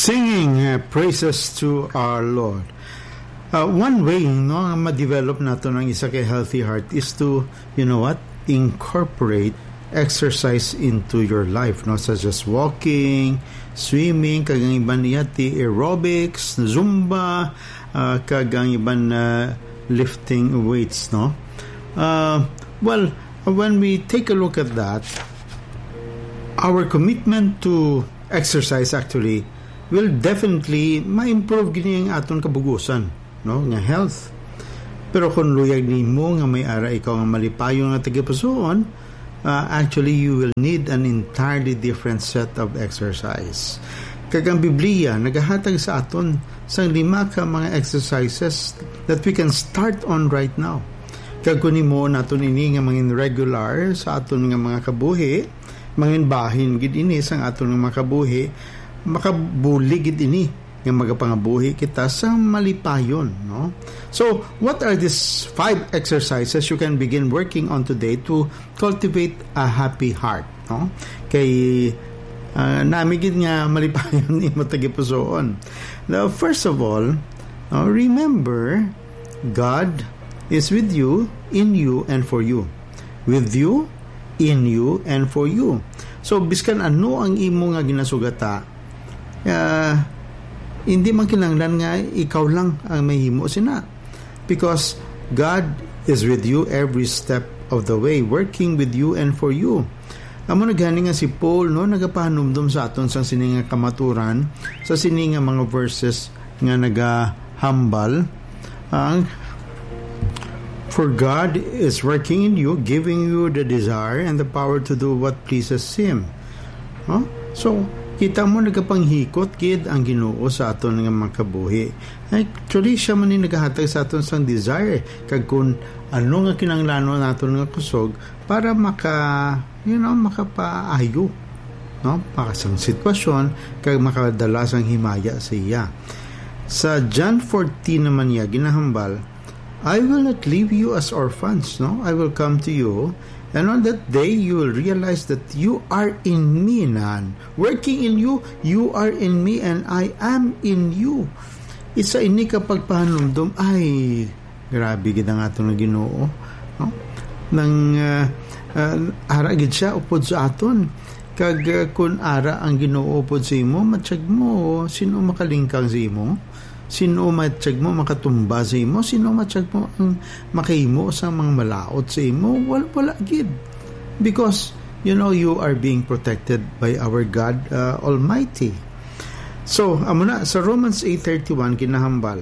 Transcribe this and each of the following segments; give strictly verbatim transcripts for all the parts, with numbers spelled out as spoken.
Singing uh, praises to our Lord. Uh, one way, no, nga ma-develop naton ang isa ka healthy heart is to, you know what, incorporate exercise into your life, no, such as walking, swimming, kag ang iban niya ti aerobics, zumba, uh, kag ang iban na lifting weights, no. Uh, well, when we take a look at that, our commitment to exercise actually will definitely ma-improve gini ang aton kabugusan, no, nga health. Pero kung luyag nimo nga may ara ikaw nga malipayon nga tagipusoon, uh, actually you will need an entirely different set of exercise. Kag ang Biblia nagahatag sa aton sang lima ka mga exercises that we can start on right now. Kag kung himo naton ini nga mangin regular sa aton nga mga kabuhi, mangin bahin gid ini sang aton nga mga kabuhi, makabulig gid ini nga magapangabuhi kita sa malipayon, no? So, what are these five exercises you can begin working on today to cultivate a happy heart, no? Kay, ah, nami gid nga malipayon imo tagipusoon. Now, first of all, uh, remember, God is with you, in you, and for you. With you, in you, and for you. So, biskan ano ang imo nga ginasugata, ah, hindi man kinahanglan nga ikaw lang ang mahimo sina. Because God is with you every step of the way, working with you and for you. Amo na gani nga si Paul, no, nagapahanumdom sa aton sang sini nga kamaturan, sa sini nga mga verses nga nagahambal. Ang, "For God is working in you, giving you the desire and the power to do what pleases Him." No? So, kita mo, nagapanghikot gid ang Ginoo sa aton nga mga kabuhi. Actually, siya man ni nagahatag sa aton sang desire, kag kung ano nga kinahanglanon naton nga kusog para maka, you know, makapaayo, no? Para sang sitwasyon, kag makadala sang himaya sa iya. Sa John fourteen naman niya ginahambal, "I will not leave you as orphans, no? I will come to you, and on that day you will realize that you are in me, nan. Working in you, you are in me, and I am in you." Isa ini ka pagpahanumdom, ay, grabe gid ang aton nga Ginoo, no? Nang, ah, ah, ara gid siya upod sa aton. Kag, ah, kun ara ang Ginoo upod sa imo, matyag mo, sin-o makalingkang sa imo? Sin-o matyag mo makatumba sa imo? Sin-o matyag mo ang makahimo sa mga malaut sa imo? Wal-, wala gid. Because, you know, you are being protected by our God, uh, Almighty. So, amo na, sa Romans eight thirty-one, ginahambal,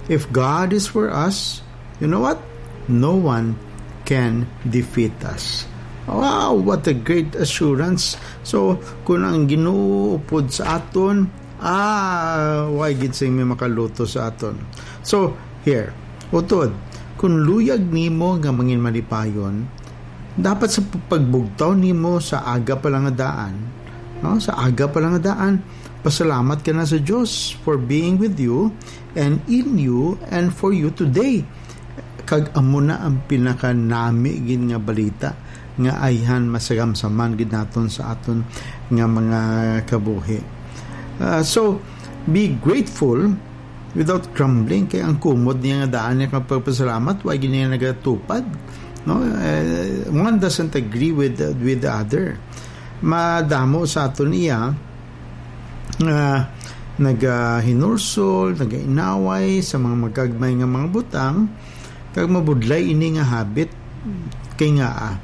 "If God is for us, you know what? No one can defeat us." Wow, what a great assurance. So, kung ang Ginoo upod sa aton, ah, way gid sing may makaluto sa aton. So, here, utod, kung luyag nimo nga mangin malipayon, dapat sa pagbugtaw nimo sa aga pa lang nga daan, no? Sa aga pa lang nga daan, pasalamat ka na sa Dios for being with you and in you and for you today. Kag amo na ang pinakanami gid nga balita nga ayhan masagamsaman gid naton sa aton nga mga kabuhi. Ah, so, be grateful without grumbling, kay ang kumod niya nga daan niya kang pagpasalamat, wa gid niya nagatupad, no? Eh, one doesn't agree with, with the other. Madamo sa aton iya nga nagahinulsol, nagainaway sa mga magagmay nga mga butang, kag mabudlay ini nga habit. Kay nga, ah,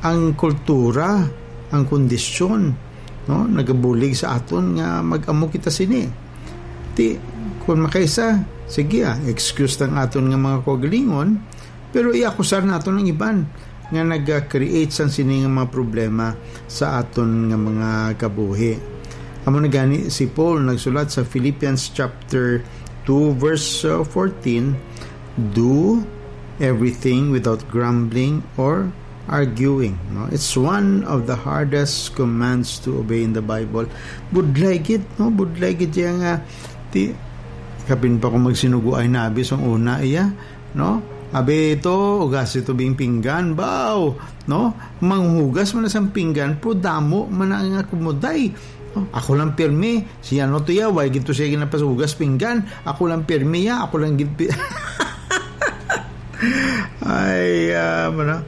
ang kultura, ang kondisyon, no, nagabulig sa aton nga mag-amo kita sini. Ti, kung makaisa, sige, ah, excuse lang aton nga mga kaugalingon, pero iakusar naton ang iban nga nag-create sang sini nga mga problema sa aton nga mga kabuhi. Amo na gani si Paul nagsulat sa Philippians chapter two, verse, uh, fourteen, "Do everything without grumbling or arguing." No? It's one of the hardest commands to obey in the Bible. Budlay gid, no? Budlay gid siya nga, ti, kapin pa kung magsinugo ay nabi sang una iya, no? Abi ito, ugasi tubing pinggan, baw, no? Manghugas man na sang pinggan, pero damo man na nga kumuday. Ako lang pirmi. Si ano to ya, why gid to siya ginapasugas pinggan? Ako lang pirmi ya, ako lang gid pi-, Ay, ah, ano?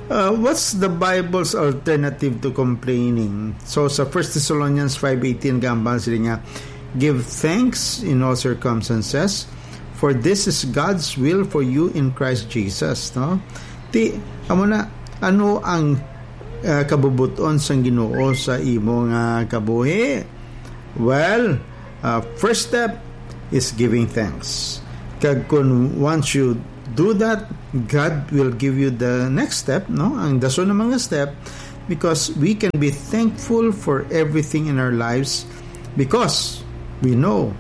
Uh, what's the Bible's alternative to complaining? So, sa First Thessalonians five eighteen, gambang sila nga, "Give thanks in all circumstances, for this is God's will for you in Christ Jesus," no? Ti, amo na, ano ang, ah, kabubuton sang Ginoo sa imo nga kabuhi? Well, uh, first step is giving thanks. Kag kung once you do that, God will give you the next step, no? Ang dason nga mga step, because we can be thankful for everything in our lives because we know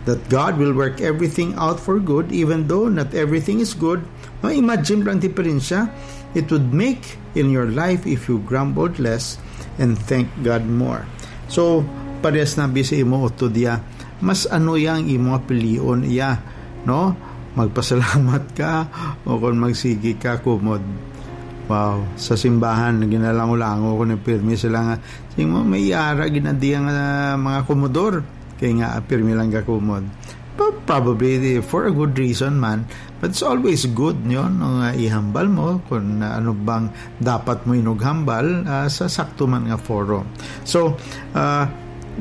that God will work everything out for good, even though not everything is good. No, imagine lang diferensya it would make in your life if you grumbled less and thank God more. So, parehas na bi sa imo utod iya, mas ano iya ang imo nga pilion iya, no? Magpasalamat ka o kung magsigi ka kumod. Wow, sa simbahan, ginalango-lango ko ni pirmi sila nga, sing mo, may ara ginadiya nga mga kumodor, kay nga pirmi lang ka kumod. But probably for a good reason man, but it's always good, no, no, nga ihambal mo kung ano bang dapat mo inughambal, ah, sa sakto man nga forum. So, ah,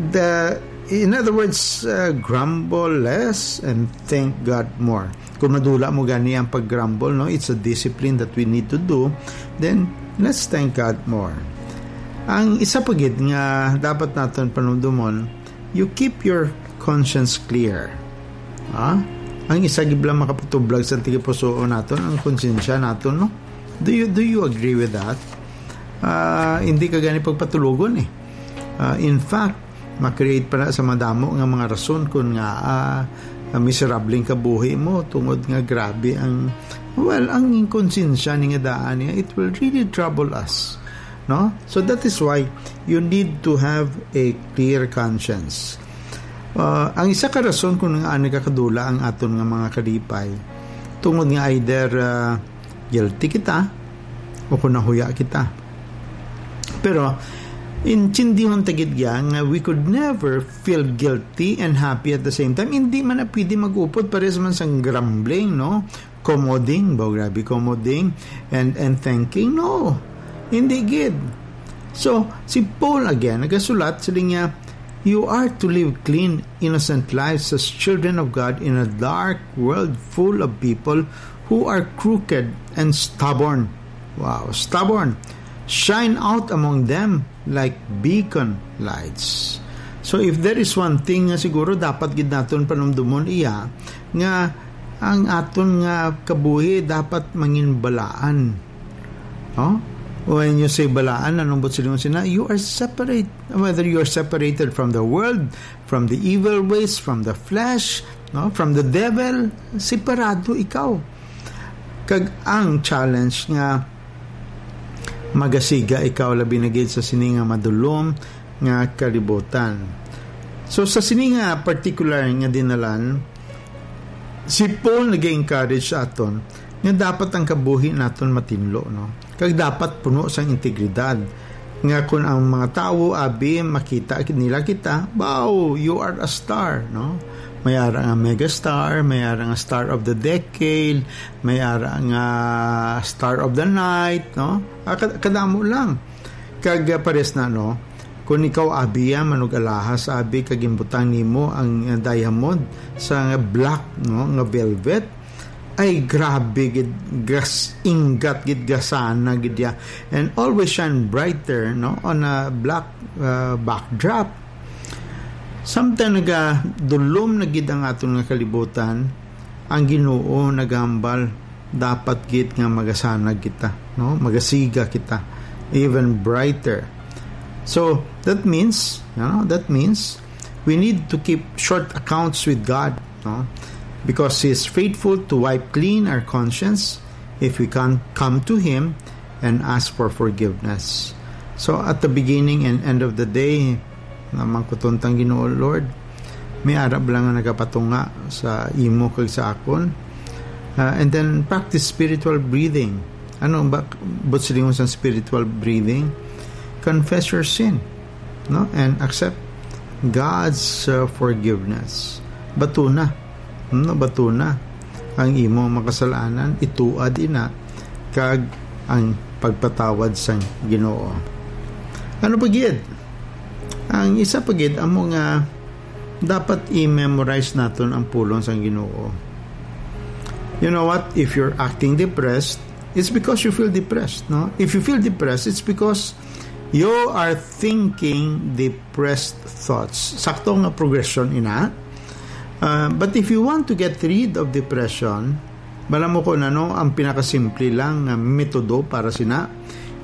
the, in other words, ah, grumble less and thank God more. Kung madula mo gani ang pag-grumble, no, it's a discipline that we need to do, then let's thank God more. Ang isa pa gid nga dapat naton panumdumon, you keep your conscience clear. Ha? Ang isa gid lang makapatublag sa tagipusoon naton, ang konsensya naton, no? Do you, do you agree with that? Ah, hindi ka gani pagpatulogon eh. Ah, in fact, ma-create pa na sa madamo nga mga rason kung nga, ah, miserable ang kabuhi mo tungod nga grabe ang, well, ang konsensya ni nga daan niya, it will really trouble us, no? So that is why you need to have a clear conscience. Ah, ang isa ka rason kung nga ani ka kadula ang aton nga mga kalipay, tungod nga either, ah, guilty kita o kung nahuya kita. Pero, intindihon ta gid ya nga we could never feel guilty and happy at the same time. Hindi man na pwede mag-upod, pares man sang grumbling, no? Comoding, ba, grabe, comoding, and, and thanking, no. Hindi gid. So, si Paul again, nagasulat, sila niya, "You are to live clean, innocent lives as children of God in a dark world full of people who are crooked and stubborn." Wow, stubborn. "Shine out among them like beacon lights." So, if there is one thing nga siguro dapat gid naton panumdumon iya, nga ang aton nga kabuhi dapat manginbalaan. No? When you say balaan, anong buot silingon sina? You are separate, whether you are separated from the world, from the evil ways, from the flesh, no, from the devil, separado ikaw. Kag ang challenge nga magasiga ikaw labi na gid sa sini nga madulom nga kalibutan. So, sa sini nga particular nga dinalan, si Paul nag-encourage sa aton nga dapat ang kabuhi naton matinlo, no? Kag dapat puno sang integridad. Nga kun ang mga tawo, abi, makita nila kita, "Wow, you are a star," no? May ara nga megastar, may ara nga star of the decade, may ara nga star of the night, no? Ah, kad-, kadamo lang. Kag, ah, pares na, no? Kung ikaw, abi, ah, manug-alahas, abi, kag ginbutang nimo ang, ah, diamond sa nga black, no, nga velvet, ay, grabe gid, gas-, inggat gid, gasana gid ya. And always shine brighter, no, on a black, uh, backdrop. Samtang nagadulom na gid ang aton nga kalibutan, ang Ginoo nagahambal, dapat gid nga magasana kita, no? Magasiga kita, even brighter. So, that means, you know, that means we need to keep short accounts with God, no? Because He is faithful to wipe clean our conscience if we can come to Him and ask for forgiveness. So, at the beginning and end of the day, nga mangkuton tang Ginoo, "Lord, may ara bala nga nagapatunga sa imo kag sa akon?" Uh, and then practice spiritual breathing. Ano ba buot silingon sang spiritual breathing? Confess your sin, no? And accept God's, uh, forgiveness. Batuna. Hmm, batuna ang imo makasalanan, ituad ina, kag ang pagpatawad sang Ginoo. Ano pa gid? Ang isa pa gid amo nga dapat i-memorize naton ang pulong sang Ginoo. You know what? If you're acting depressed, it's because you feel depressed, no? If you feel depressed, it's because you are thinking depressed thoughts. Sakto nga progression ina. Uh, but if you want to get rid of depression, bala mo ko na, no, ang pinakasimple lang nga metodo para sina,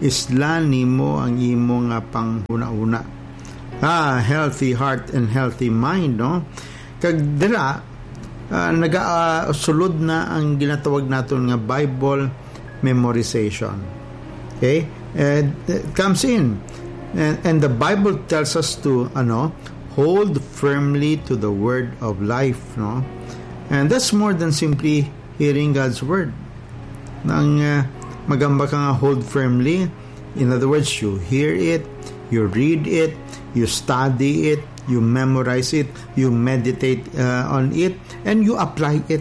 islan nimo ang imo nga panghuna-huna. Ah, healthy heart and healthy mind, no? Kag dira, ah, nagasulod na ang ginatawag naton nga Bible memorization. Okay? And it comes in. And, and the Bible tells us to, ano, hold firmly to the word of life, no? And that's more than simply hearing God's word. Nang, uh, magamba ka nga hold firmly, in other words, you hear it, you read it, you study it, you memorize it, you meditate, uh, on it, and you apply it.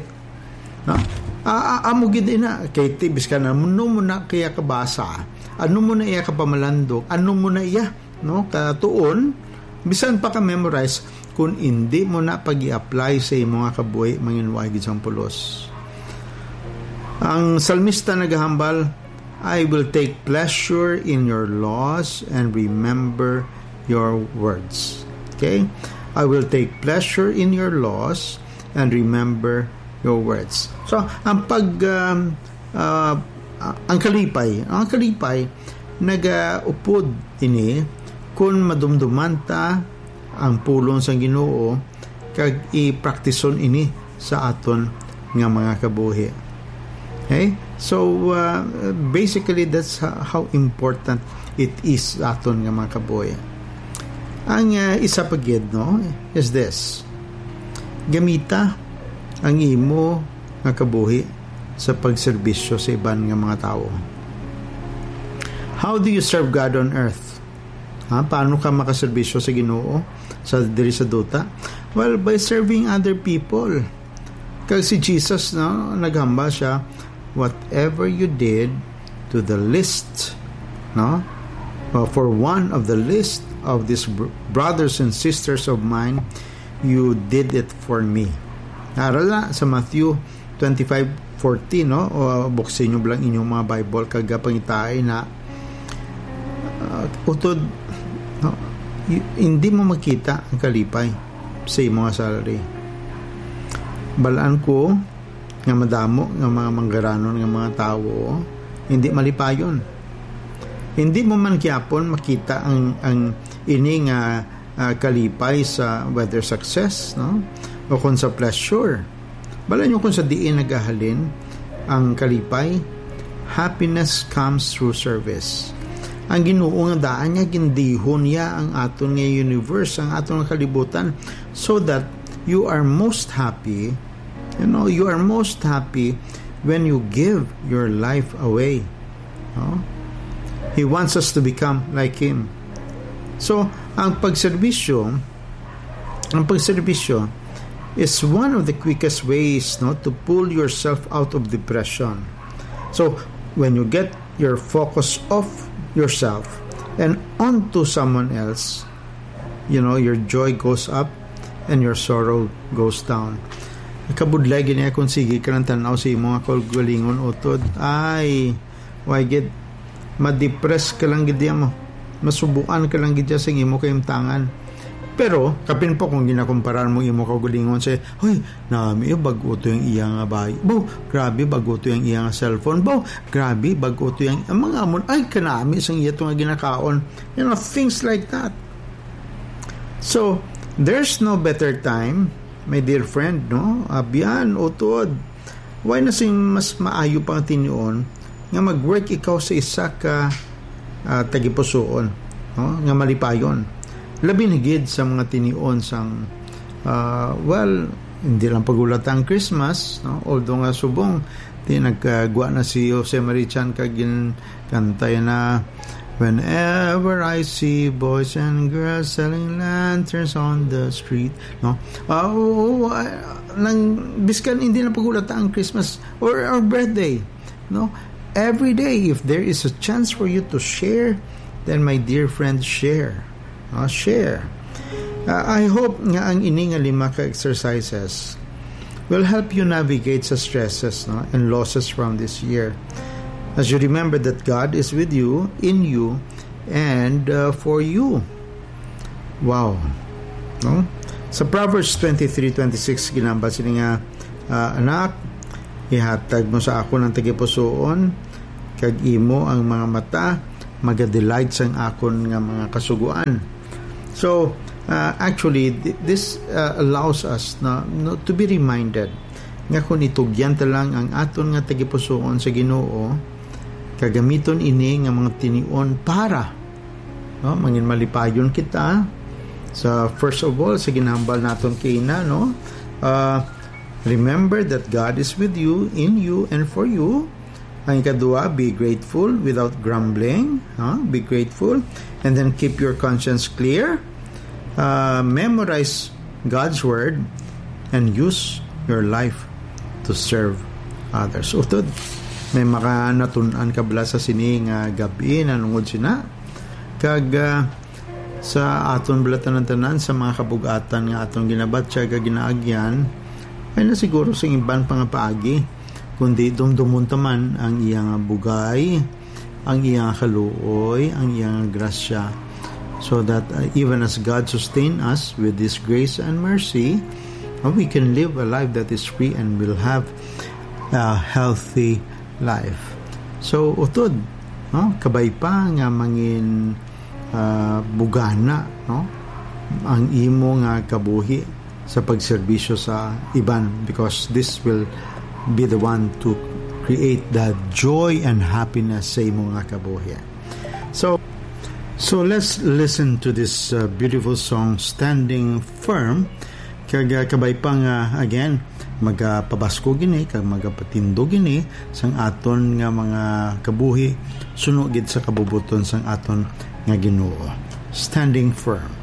No? A-, a-, amo gid ina, kay ti, biskan ano mo na kaya kabasa, ano mo na iya kapamalandong, ano mo na iya, no, katuon, bisan pa ka memorize, kung indi mo na pag-i-apply sa imo nga kabuhi, manginway gid sang pulos. Ang salmista nagahambal, "I will take pleasure in your laws and remember your words." Okay? "I will take pleasure in your laws and remember your words." So, ang pag, um, uh, ang kalipay, ang kalipay, nagaupod ini kung madumduman ta ang pulong sang Ginoo kag ipraktison ini sa aton nga mga kabuhi. Okay? So, uh, basically, that's ho-, how important it is sa aton nga mga kabuhi. Ang, uh, isa pa gid, no, is this. Gamita ang imo nga kabuhi sa pagserbisyo sa iban nga mga tawo. How do you serve God on earth? Ha? Paano ka makaserbisyo sa Ginoo sa diri sa duta? Well, by serving other people. Kag si Jesus, no, naghambal siya, "Whatever you did to the least, no, uh, for one of the least of these br-, brothers and sisters of mine, you did it for me." Ara na sa Matthew twenty-five forty, no? O, buksin nyo lang inyong mga Bible kag pangitai na, uh, utod, no? Y-, hindi mo makita ang kalipay sa imo nga salary. Balaan ko nga madamo nga mga manggaranon nga mga tawo hindi malipayon. Hindi mo man gyapon makita ang, ang ini nga, ah, kalipay sa whether success, no? O kung sa pleasure. Bala nyo kung sa diin nagahalin ang kalipay, happiness comes through service. Ang Ginoo nga daan niya, gindihon niya ang aton nga universe, ang aton nga kalibutan, so that you are most happy, you know, you are most happy when you give your life away. No? He wants us to become like Him. So, ang pagserbisyo, ang pagserbisyo is one of the quickest ways, no, to pull yourself out of depression. So, when you get your focus off yourself and onto someone else, you know, your joy goes up and your sorrow goes down. Kabudlay gid niya kung sige ka lang tan-aw sa imo nga kaugalingon, utod. Ay, why gid? Madepress ka lang gid mo. Masubuan ka lang gid sa imo kahimtangan. Pero, kapin pa kung ginakumparar mo imo kaugalingon sa, "Hoy, nami, eh, bag-o to yung iya nga bahay. Bo, grabe, bag-o to yung iya nga cellphone. Bo, grabe, bag-o to yung, ang mga amon, ay, kanami sang iya to nga ginakaon." You know, things like that. So, there's no better time, my dear friend, no? Abyan, utod. Why na sing mas maayo pang tinion nga mag-work ikaw sa isa ka, ah, tagipusoon, no? Nga malipayon. Labi na gid sa mga tinion sang, ah, well, hindi lang pagulata ang Christmas, no? Although nga subong, di nagkagwa na si Jose Marichan kag gin-, kantay na, Whenever I see boys and girls selling lanterns on the street, no? Ah, oo, ah, nang, biskan hindi na pag-ulata ang Christmas or our birthday, no? Every day, if there is a chance for you to share, then, my dear friend, share. Ah, share. Ah, I hope nga ang ini nga lima ka exercises will help you navigate sa stresses, no, and losses from this year. As you remember that God is with you, in you, and, uh, for you. Wow. No? Sa Proverbs twenty-three twenty-six, ginambal sini nga, ah, "Anak, ihatag mo sa akon ang tagipusoon, kag imo ang mga mata magadelight sang akon nga mga kasugoan." So, uh, actually, th- this, uh, allows us na, no, to be reminded nga kung itugyan ta lang ang aton nga tagipusoon sa Ginoo, kagamiton ini nga mga tinion para, no, mangin malipayon kita sa, first of all, sa ginambal naton kaina, no? Uh, remember that God is with you, in you, and for you. Ang ikadua, be grateful without grumbling. Ha? Be grateful. And then keep your conscience clear. Uh, memorize God's word and use your life to serve others. Utod, may makanatun-an ka bala sa sini nga gab-i nanungod sina. Kag, ah, sa aton bala tanan-tanan, sa mga kabug-atan nga aton ginabatyag kag ginaagyan, ay na siguro sing iban pa nga paagi, kundi dumdumon ta man ang iya nga bugay, ang iya nga kaluoy, ang iya nga grasya, so that, uh, even as God sustain us with His grace and mercy, uh, we can live a life that is free and will have a healthy life. So, utod, no? Kabay pa nga mangin, ah, bugana, no, ang imo nga kabuhi sa pagserbisyo sa iban, because this will be the one to create the joy and happiness sa imo nga kabuhi. So, so let's listen to this, uh, beautiful song, Standing Firm. Kag, uh, kabay pa nga, again, magapabaskog ini kag magapatindog ini sang aton nga mga kabuhi suno gid sa kabubuton sang aton nga Ginoo. Standing firm.